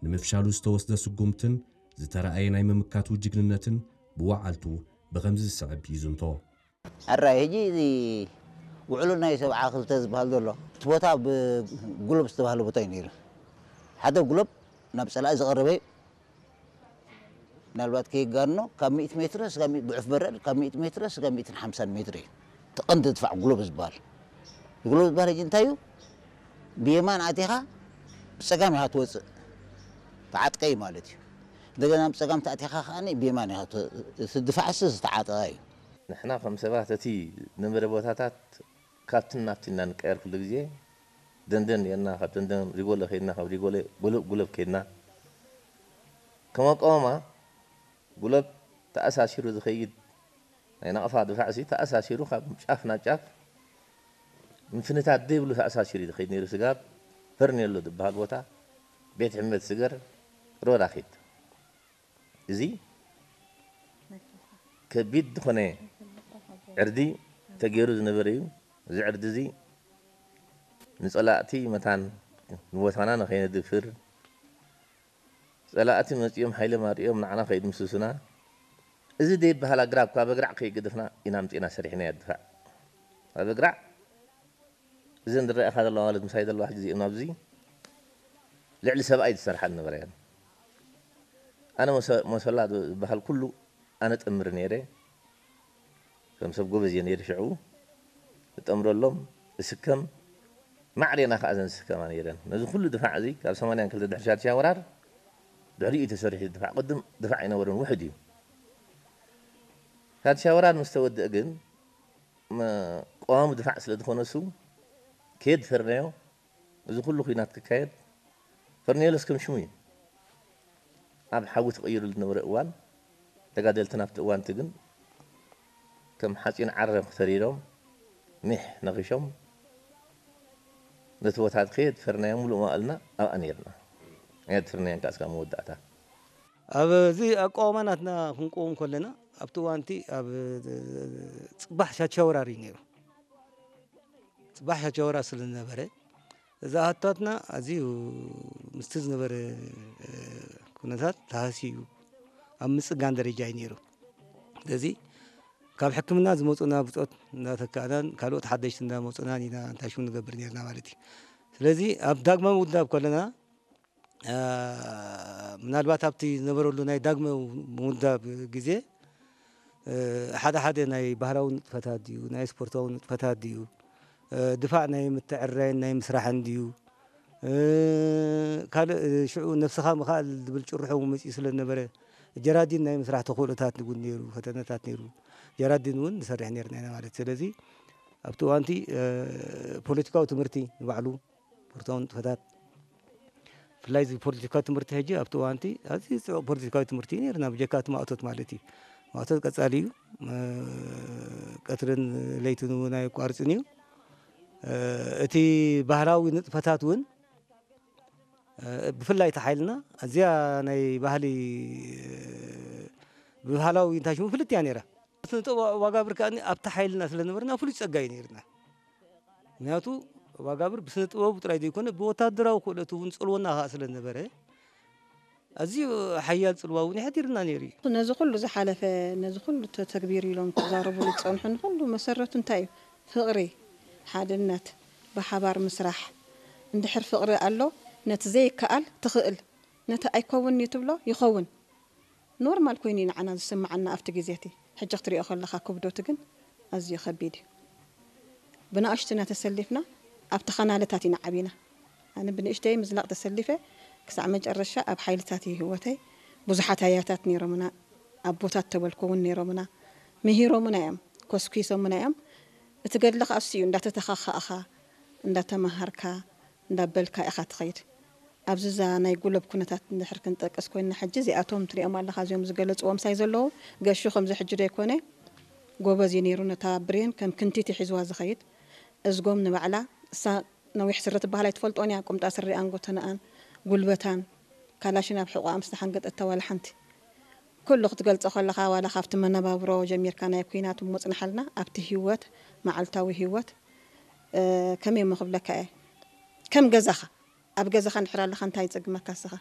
ንምፍሻሉ ዝተወስደ ስጉምትን ዝተረኣየ ናይ ምምካቱ ጅግንነትን ብወዓልቱ ብኸምዚ ዝስዕብ ይዝንቶ። ኣራይ ሕጂ እዚ ውዕሉ ናይ ሰብዓ ክልተ ዝበሃል ዘሎ እቲ ቦታ ብጉሎብ ዝተባህለ ቦታ እዩ ነይሩ። ሓደ ጉሎብ ናብ ጸላኢ ዝቐረበ እዩ። ምናልባት ከይጋኖ ካብ ሚእቲ ሜትሮ ስጋብ ሚእቲ፣ ጉዕፍ በረድ ካብ ሚእቲ ሜትሮ ስጋብ ሚእትን ሓምሳን ሜትሮ እዩ። እቲ ቀንዲ ድፋዕ ጉሎብ ዝበሃል። ጉሎብ ዝበሃል ሕጂ እንታይ እዩ? ብየማን ኣቲኻ ብጸጋም ኢኻ ትወጽእ። ተዓጥቀ እዩ ማለት እዩ። እንደገና ብጸጋም ተኣቲኻ ከኣ ብየማን ኢኻ ት-፣ እቲ ድፋዕሲ ዝተዓጠቐ እዩ። ንሕና ከም ሰባት እቲ ዝነበረ ቦታታት ካብትን ናብትን ኢና ንቀየር ኩሉ ግዜ። ደንደን ኔርና፣ ካብ ደንደን ሪጎለ ከይድና፣ ካብ ሪጎለ ጉለብ፣ ጉለብ ከይድና። ከም ኣቃውማ ጉለብ ተኣሳሲሩ ዝኸይድ ናይ ናቕፋ ድፋዕሲ ተኣሳሲሩ ካብ ጫፍ ናብ ጫፍ ምፍንታት ዘይብሉ ተኣሳሲሩ እዩ ዝኸይድ ነይሩ። ስጋብ ፈርኔሎ ዝበሃል ቦታ ቤት ሕመት ስገር ሮዳ ኺድ። እዚ ከቢድ ዝኾነ ዕርዲ ተገይሩ ዝነበረ እዩ። እዚ ዕርዲ እዚ ንጸላእቲ መታን ንቦታና ንኸይነድፍር፣ ጸላእቲ መጺኦም ሓይሎም ኣርእዮም ንዓና ከይድምስሱና፣ እዚ ደይበሃል ኣግራብ ካብ ኣግራዕ ከይገደፍና ኢና ኣምጺእና ሰሪሕናዮ ድፋዕ። ኣብ ኣግራዕ እዘን ዝረኣኻ ዘለዋ ማለት ምሳይ ዘለዋ ሕጂ እዚኦም ኣብዚ ልዕሊ ሰብኣይ ዝሰርሓ ዝነበራ እየን። ኣነ መሰ-፣ መሰላ ዝበሃል ኩሉ ኣነ ጠምር ነይረ። ከም ሰብ ጎበዝ እየ ነይረ ሽዑ። እጠምረሎም፣ እስከም፣ ማዕሬና ከኣ እዘን ዝስከማ ነይረን። ነዚ ኩሉ ድፋዕ እዚ ካብ ሰማንያን ክልተ ድሕሪ ሻድሻይ ወራር ድሕሪኡ ተሰሪሑ ድፋዕ፣ ቅድም ድፋዕ ኣይነበረን፣ ውሑድ እዩ። ሻድሻይ ወራር ምስ ተወድአ ግን መ-፣ ቀዋሚ ድፋዕ ስለ ዝኾነ እሱ ከየድፈርናዮ፣ እዚ ኩሉ ኲናት ክካየድ ፈርኔሎስ ከም ሽሙ እዩ። ኣብ ሓዊ ተቐይሩ ዝነበረ እዋን፣ ተጋደልትና ኣብቲ እዋን እቲ ግን ከም ሓፂን ዓረም ተሪሮም፣ ሚሕ ነኺሾም፣ ነቲ ቦታ ከየድፈርናዮ ሙሉእ መዋእልና ኣብኣ ነይርና። ኣየድፈርናዮን ከኣ እስካብ መወዳእታ። ኣብ እዚ ኣቃውማ ናትና ክንቀውም ከለና፣ ኣብቲ እዋን እቲ ኣብ ጽባሕ ሻቻ ወራር እዩ ነይሩ። ጽባሕ ሻቻ ወራር ስለ ዝነበረ፣ እዚ ኣሃቶታትና ኣዝዩ ምስቲ ዝነበረ፣ እ፣ ኩነታት ተሃስዩ ኣብ ምጽጋን ደረጃ እዩ ነይሩ። ስለዚ ካብ ሕክምና ዝመጹና ብጾት እንዳተካእናን ካልኦት ሓደሽቲ እንዳመጹናን ኢና እንታይ ሽሙ ንገብር ነይርና ማለት እዩ። ስለዚ ኣብ ዳግማዊ ውዳብ ከለና፣ እ፣ ምናልባት ኣብቲ ዝነበረሉ ናይ ዳግማዊ ምውዳብ ግዜ፣ እ፣ ሓደ ሓደ ናይ ባህላዊ ንጥፈታት ድዩ፣ ናይ ስፖርታዊ ንጥፈታት ድዩ፣ እ፣ ድፋዕ ናይ ምትዕርራይን ናይ ምስራሕን ድዩ፣ እ፣ ካልእ፣ እ፣ ሽዑ ነብስኻ ምኽኣል ዝብል ጭርሖ እውን መጺኡ ስለ ዝነበረ፣ ጀራዲን ናይ ምስራሕ ተኽእሎታት እውን ነይሩ፣ ፈተነታት ነይሩ። ጀራዲን እውን ንሰርሕ ነይርና ኢና ማለት። ስለዚ ኣብቲ እዋንቲ፣ እ፣ ፖለቲካዊ ትምህርቲ ንባዕሉ፣ ስፖርታዊ ንጥፈታት፣ ብፍላይ እዚ ፖለቲካዊ ትምህርቲ ሕጂ ኣብቲ እዋንቲ ኣዝዩ ጽዑቕ ፖለቲካዊ ትምህርቲ እዩ ነይርና፣ ብጀካ እቲ ማእቶት ማለት እዩ። ማእቶት ቀጻሊ እዩ። እ፣ ቀትርን ለይትን እውን ኣየቋርጽን እዩ። እ፣ እቲ ባህላዊ ንጥፈታት እውን፣ እ፣ ብፍላይ እቲ ሓይልና ኣዝያ ናይ ባህሊ፣ እ፣ ብባህላዊ እንታይ ሽሙ ፍልጥ እያ ነይራ። ስነ ጥበብ ዋጋብር ከኣ ኣብቲ ሓይልና ስለ ነበርና ፍሉይ ጸጋ እዩ ነይርና። ምክንያቱ ዋጋብር ብስነ ጥበቡ ጥራይ ዘይኮነ ብወታደራዊ ክእለቱ እውን ጽልወና ከኣ ስለ ነበረ ኣዝዩ ሓያል ጽልዋ እውን የሕዲርና ነይሩ እዩ። ነዚ ኩሉ ዝሓለፈ፣ ነዚ ኩሉ ተተግቢሩ ኢሎም ክዛረቡ ዝጸንሑ ንኹሉ መሰረቱ እንታይ እዩ? ፍቕሪ፣ ሓድነት፣ ብሓባር ምስራሕ። እንድሕር ፍቕሪ ኣሎ፣ ነቲ ዘይከኣል ትኽእል፣ ነቲ ኣይከውን እዩ ትብሎ ይኸውን። ኖርማል ኮይኑ እዩ ንዓና ዝስምዓና ኣብቲ ግዜ እቲ። ሕጂ ክትሪኦ ከለኻ ክብደቱ ግን ኣዝዩ ከቢድ እዩ። ብንኣሽቱና ተሰሊፍና ኣብቲ ኻናለታት ኢና ዓቢና። ኣነ ብንእሽተይ ምዝላቕ ተሰሊፈ ክሳዕ መጨረሻ ኣብ ሓይልታት እዩ ህይወተይ። ብዙሓት ኣያታት ነይሮምና፣ ኣቦታት ተበልኩ እውን ነይሮምና። ምሂሮምና እዮም፣ ኮስኲሶምና እዮም። እቲ ገድሊ ከኣ እሱ እዩ፣ እንዳተተኻኻእኻ፣ እንዳተመሃርካ፣ እንዳበልካ ኢኻ ትኸይድ። ኣብዚ እዛ ናይ ጉለብ ኩነታት እንድሕር ክንጠቅስ ኮይንና፣ ሕጂ እዚኣቶም ትሪኦም ኣለኻ፣ እዚኦም ዝገለጽዎም ምሳይ ዘለዉ፣ ገሹ ከምዚ ሕጂ ዶ ኣይኮነ፣ ጎበዝ እዩ ነይሩ፣ ነታ ብሬን ከም ክንቲት እዩ ሒዝዋ ዝኸይድ። እዝጎም ንባዕላ፣ እሳ ነዊሕ ስረ ትበሃል ኣይትፈልጦን እያ፣ ቁምጣ ስሪኣን ጎተናኣን፣ ጉልበታን፣ ካላሽን ኣብ ሕቖኣ ምስ ተሓንገጠታ ዋላ ሓንቲ። ኩሉ ክትገልጾ ከለኻ፣ ዋላ ካብቲ መነባብሮ ጀሚርካ፣ ናይ ኲናት እሞ ጽንሓልና፣ ኣብቲ ህይወት፣ መዓልታዊ ህይወት፣ እ፣ ከመይ እሞ ክብለካ እየ፣ ከም ገዛኻ፣ ኣብ ገዛኻ እንድሕር ኣለኻ እንታይ ይጸግመካ እስኻ?